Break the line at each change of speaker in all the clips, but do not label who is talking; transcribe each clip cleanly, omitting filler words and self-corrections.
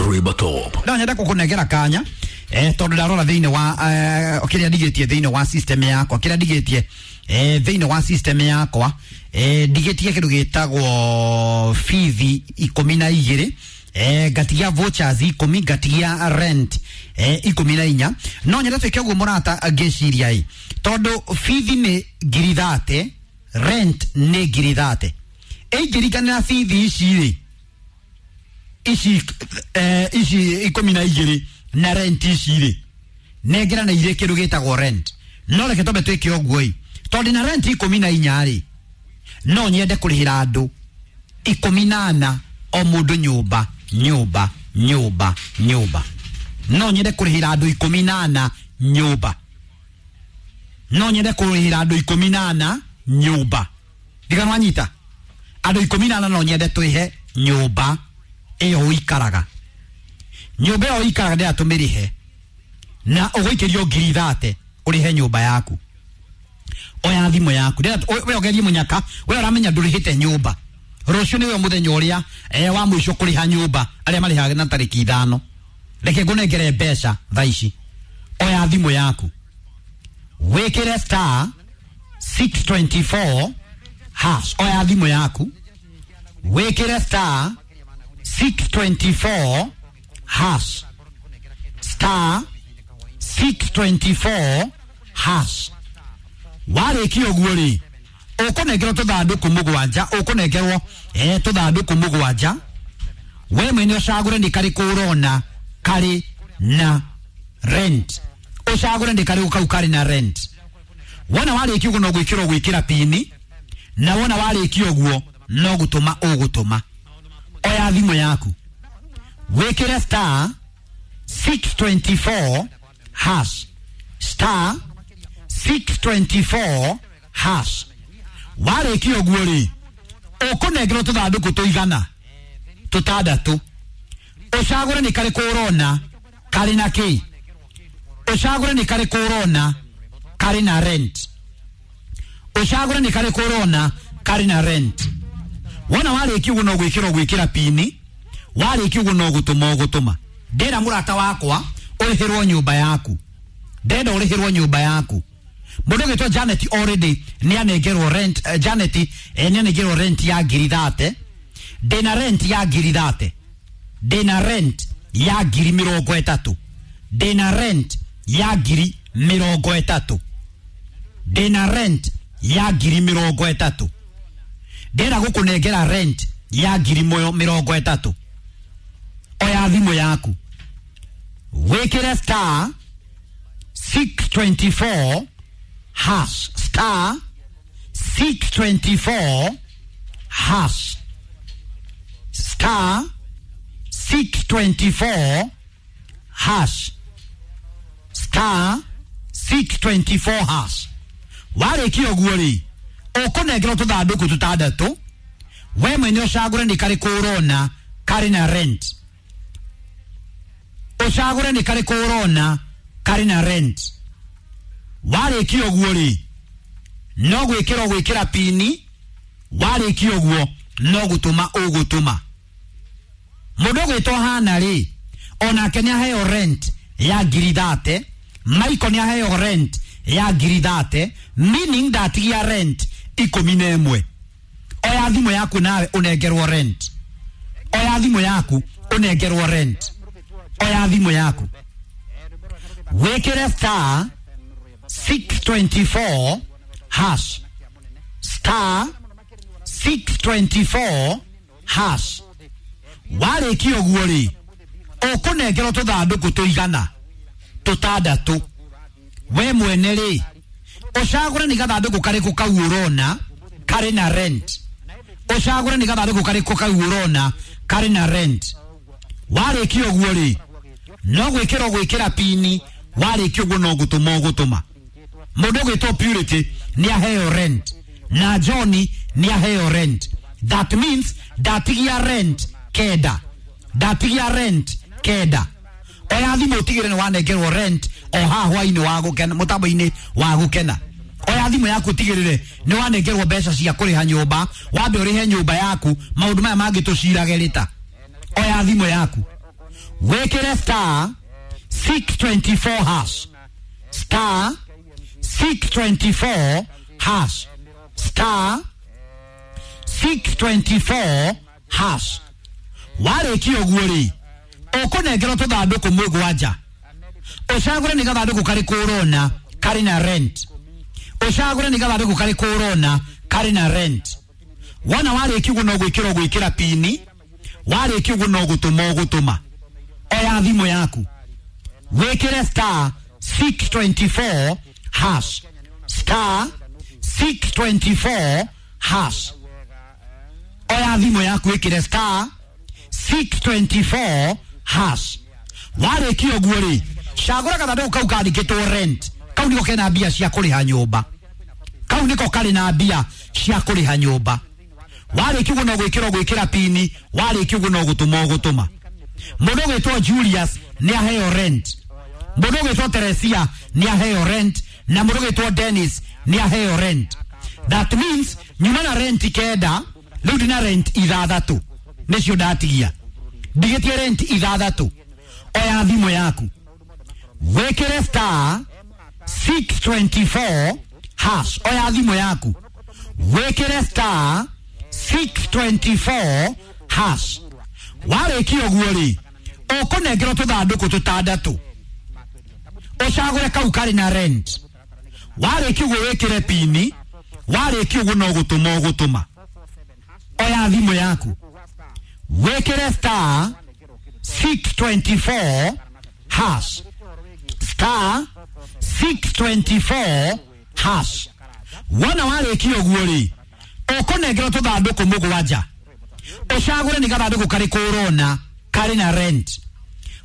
Rivertop.
No nyenda kukunengera kanya tondu ndarora thiini wa kiria ndigitie thiini wa system yakwa, kiria ndigitie thiini wa system yakwa, ndigitie kindu gitagwo fithi 12, ngatigia vouchers 10, ngatigia rent 14. No nyenda twike uguo murata, ngiciria i tondu fithi ni ngiri 30, rent ni ngiri 30. Ingirikanira fithi ici ri ici ici 12 na rent ici rĩ, nengerana irĩ kĩndũ gĩtagwo rent. No reke twambe twĩke ũguo ĩ, tondũ na rent 14 rĩ, no nyende kũrĩhĩra andũ 14 o mũndũ nyũmba nyũmba nyũmba nyũmba. No nyende kũrĩhĩra andũ 14 nyũmba. No nyende kũrĩhĩra andũ 14 nyũmba. Ndiganwanyita andũ 14, no nyende twĩhe nyũmba ĩyo ũikaraga, nyũmba ĩyo ũikaraga ndĩra tũmĩrĩhe na ũgũikĩrio ngiri 30 ũrĩhe nyũmba yaku. Oya thimũ yaku, we ũgerie mũnyaka, we ũramenya ndũrĩhĩte nyũmba. Rũciũ nĩwe mũthenya ũrĩa wa mũico kũrĩha nyũmba, arĩa marĩhaga na tarĩki 5. Reke ngũnengere mbeca thaa ici. Oya thimũ yaku, wĩkĩre star 624 hash. Oya thimũ yaku, wĩkĩre star 624 hash, star 624 hash. Warĩkia ũguo rĩ, ũkũnengerwo tũthandũkũ mũgwanja, ũkũnengerwo tũthandũkũ mũgwanja. We mwene ũcagũre nĩ karĩkũ ũrona karĩ na rent, ũcagũre nĩ karĩkũ kau karĩ na rent. Wona warĩkia ũguo no gwĩkĩrwo gwĩkĩra pini, na wona warĩkia ũguo no gũtũma ũgũtũma. Oya thimũ yaku, wĩkĩre star 624 hash, star 624 hash. Warĩkia ũguo rĩ, ũkũnengerwo tũthandũkũ tũigana tũtandatũ, ũcagũre nĩ karĩkũ ũrona karĩ na kĩ, ũcagũre nĩ karĩkũ ũrona karĩ na rent, ũcagũre nĩ karĩkũ ũrona karĩ na rent. Wona warĩkia ũguo no gwĩkĩrwo gwĩkĩra pini, warĩkia ũguo no gũtũma ũgũtũma. Ndĩra mũrata wakwa ũrĩhĩrwo nyũmba yaku, ndenda ũrĩhĩrwo nyũmba yaku. Mũndũ ũgĩtwo Janet already nĩ anengerwo rent. Janet nĩ anengerwo rent ya ngiri 30. Ndĩna rent ya ngiri 30, ndĩna rent ya ngiri 30, ndĩna rent ya ngiri 30, ndĩna rent ya ngiri 30. Ndĩrenda gũkũnengera rent ya ngiri 30. Oya thimũ yaku, wĩkĩre star 624 hash, star 624 hash, star 624 hash, star 624 hash. Warĩkia ũguo rĩ, ũkũnengerwo tũthandũkũ tũtandatũ, we mwene ũcagũre nĩ karĩkũ ũrona karĩ na rent, ũcagũre nĩ karĩkũ ũrona karĩ na rent. Warĩkia ũguo rĩ, no gwĩkĩrwo gwĩkĩra pini, warĩkia ũguo no gũtũma ũgũtũma. Mũndũ ũgwĩtwo Hana rĩ, onake nĩ aheo rent ya ngiri 30. Michael nĩ aheo rent ya ngiri 30, meaning ndatigia rent 11. Oya thimũ yaku nawe ũnengerwo rent. Oya thimũ yaku ũnengerwo rent. Oya thimũ yaku, wĩkĩre star 624 hash, star 624 hash. Warĩkia ũguo rĩ, ũkũnengerwo tũthandũkũ tũigana tũtandatũ, we mwene rĩ ũcagũre nĩ gathandũkũ karĩkũ kau ũrona karĩ na rent, ũcagũre nĩ gathandũkũ karĩkũ kau ũrona karĩ na rent. Warĩkia ũguo rĩ, no gwĩkĩrwo gwĩkĩra pini, warĩkia ũguo no gũtũma ũgũtũma. Mũndũ ũgwĩtwo Purity nĩ aheo rent, na Johnny nĩ aheo rent. That means ndatigia rent 9, ndatigia rent 9. Oya thimũ ũtigĩre nĩ wanengerwo rent o haha hwainĩ wa gũkena, mũtambo-inĩ wa gũkena. Oya thimũ yaku ũtigĩrĩre nĩ wanengerwo mbeca cia kũrĩha nyũmba, wambe ũrĩhe nyũmba yaku, maũndũ maya mangĩ tũcirage rĩta. Oya thimũ yaku, Wĩkĩre star 624 hash, star 624 hash, star 624 hash. Warĩkia ũguo rĩ, ũkũnengerwo tũthandũkũ mũgwanja, ũcagũre nĩ gathandũkũ karĩkũ ũrona karĩ na rent, ũcagũre nĩ gathandũkũ karĩkũ ũrona karĩ na rent. Wona warĩkia ũguo no gwĩkĩra ũgwĩkĩra pini, warĩkia ũguo no gũtũma ũgũtũma. Oya thimũ yaku, wĩkĩre star 624 hash, star 624 hash. Oya thimũ yaku, wĩkĩre star 624 hash. Warĩkia ũguo rĩ, cagũra gathandũkũ kau kandĩkĩtwo rent. Kau nĩko kena mbia cia kũrĩha nyũmba, kau nĩko karĩ na mbia cia kũrĩha nyũmba. Warĩkia ũguo no gwĩkĩra ũgwĩkĩra pini, warĩkia ũguo no gũtũma ũgũtũma. Mũndũ ũgwĩtwo Julius nĩ aheo rent, mũndũ ũgwĩtwo Teresia nĩ aheo rent, na mũndũ ũgwĩtwo Dennis nĩ aheo rent. That means nyuma na rent 9, rĩu ndina rent 6, nĩcio ndatigia, ndigĩtie rent 6. Oya thimũ yaku, wĩkĩre star 624 hash. Oya thimũ yaku, wĩkĩre star 624 hash. Warĩkia ũguo rĩ, ũkũnengerwo tũthandũkũ tũtandatũ, ũcagũre kau karĩ na rent. Warĩkia ũguo wĩkĩre pini, warĩkia ũguo no gũtũma ũgũtũma. Oya thimũ yaku, wĩkĩre star 624 hash, star 624 hash. Wona warĩkia ũguo rĩ, ũkũnengerwo tũthandũkũ mũgwanja, ũcagũre nĩ gathandũkũ karĩkũ ũrona karĩ na rent,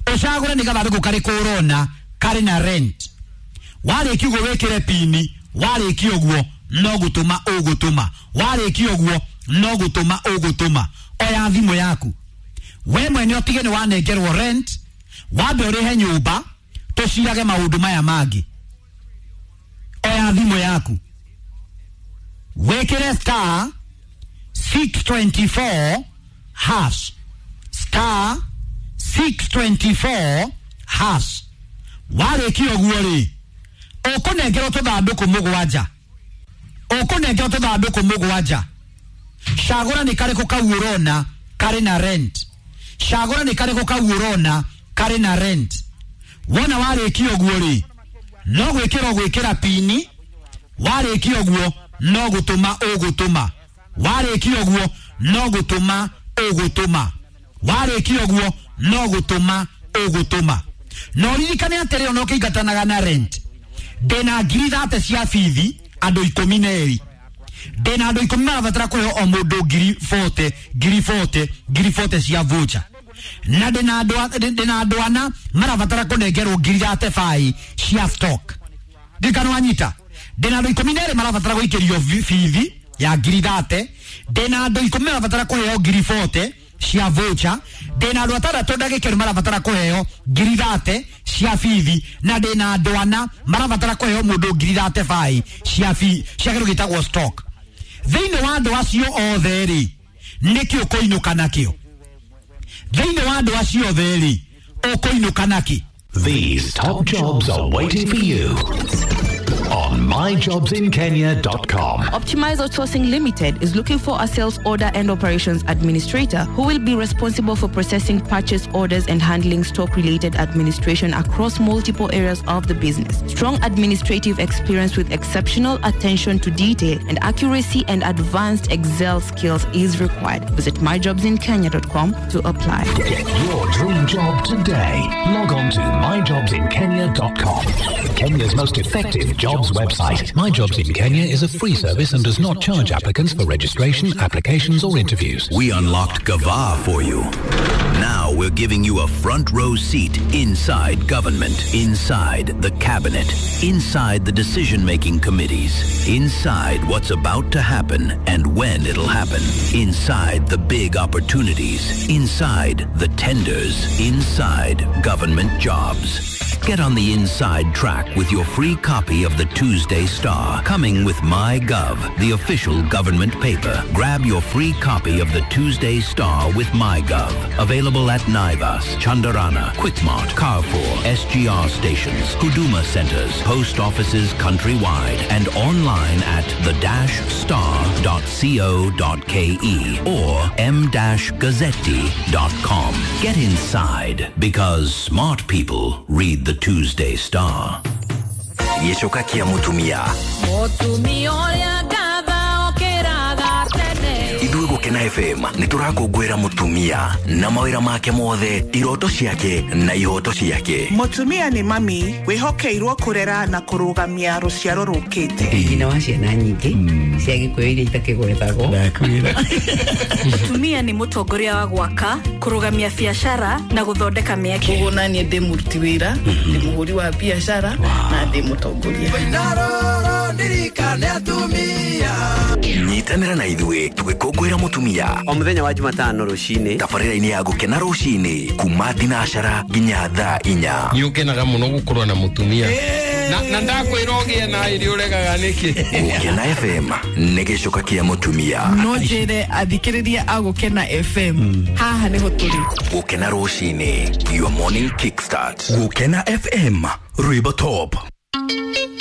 ũcagũre nĩ gathandũkũ karĩkũ ũrona karĩ na rent. Warĩkia ũguo wĩkĩre pini, warĩkia ũguo no gũtũma ũgũtũma, warĩkia ũguo no gũtũma ũgũtũma. Oya thimũ yaku, we mwene ũtige nĩ wanengerwo rent, wambe ũrĩhe nyũmba, tũcirage maũndũ maya mangĩ. Oya thimũ yaku, wĩkĩre star 624 hash, star 624 hash. Warĩkia ũguo rĩ, ũkũnengerwo tũthandũkũ mũgwanja, ũkũnengerwo tũthandũkũ mũgwanja, cagũra nĩ karĩkũ kau ũrona karĩ na rent, cagũra nĩ karĩkũ kau ũrona karĩ na rent. Wona warĩkia ũguo rĩ, no gwĩkĩra ũgwĩkĩra pini, warĩkia ũguo no gũtũma ũgũtũma, warĩkia ũguo no gũtũma ũgũtũma, warĩkia ũguo no gũtũma ũgũtũma. Na ũririkane atĩrĩ, ona ũkĩingatanaga na rent, ndĩna 30,000 cia bithi andũ 12, ndĩna andũ 10 marabatara kũheo o mũndũ 40,000 40,000 40,000 cia voucher, na ndĩna andũ 4 marabatara kũnengerwo 35,000 cia stock. Ndirikana wanyita, ndĩna andũ 12 marabatara gũikĩrio bithi ya 30,000, ndĩna andũ 10 marabatara kũheo 40,000 cia voucher, ndĩna andũ 6 ndagĩka marabatara kũheo 30,000 cia bithi, na ndĩna andũ 4 marabatara kũheo mũndũ 35,000 cia cia kĩndũ gĩtagwo stock. Thĩinĩ wa andũ acio othe rĩ, nĩkĩ ũkũinũka nakĩo? Thĩinĩ wa andũ acio othe rĩ, ũkũinũka nakĩ?
These top jobs are waiting for you on myjobsinkenya.com.
Optimize Outsourcing Limited is looking for a sales order and operations administrator who will be responsible for processing purchase orders and handling stock-related administration across multiple areas of the business. Strong administrative experience with exceptional attention to detail and accuracy and advanced Excel skills is required. Visit myjobsinkenya.com to apply.
Get your dream job today. Log on to myjobsinkenya.com. Kenya's most effective jobs website. My Jobs in Kenya is a free service and does not charge applicants for registration, applications or interviews.
We unlocked Gava for you. Now we're giving you a front row seat inside government, inside the cabinet, inside the decision-making committees, inside what's about to happen and when it'll happen, inside the big opportunities, inside the tenders, inside government jobs. Get on the inside track with your free copy of the Tuesday Star, coming with MyGov, the official government paper. Grab your free copy of the Tuesday Star with MyGov. Available at Naivas, Chandarana, Quickmart, Carrefour, SGR stations, Huduma centers, post offices countrywide, and online at the-star.co.ke or m-gazzetti.com. Get inside because smart people read the Tuesday Star.
Gĩcoka kĩa mũtumia.
Mũtumia ũrĩa ngatha okĩraga tene.
Ithuĩ Gũkena FM nĩ tũrakũngũĩra mũtumia na mawĩra make mothe, iroto ciake na ihoto ciake.
Mũtumia nĩ mami wĩhokeirwo kũrera na kũrũgamia rũciaro rũkĩte.
Nyina wa ciana nyingĩ cia gĩkũyũ iria itakĩgwetagwo.
Mũtumia nĩ mũtongoria wa gwaka, kũrũgamia biacara na gũthondeka mĩeke.
Koguo naniĩ ndĩ mũruti wĩra, ndĩ mũhũri wa biacara na ndĩ mũtongoria.
Nyitanĩra na ithuĩ tũgĩkũngũĩra mũtumia
o mũthenya wa Jumatano rũcinĩ
tabarĩra-inĩ ya Gũkena rũcinĩ kuma thinacara nginya thaa 4.
Nĩ ũkenaga mũno gũkorwo na mũtumia na ndakwĩra ũgĩe na ĩrĩ ũregaga nĩkĩ.
Gũkena FM nĩ gĩcoka kĩa mũtumia.
No njĩre athikĩrĩria a Gũkena FM haha nĩho tũrĩ.
Gũkena rũcinĩ, your morning kickstart. Gũkena FM, rwĩmbo top.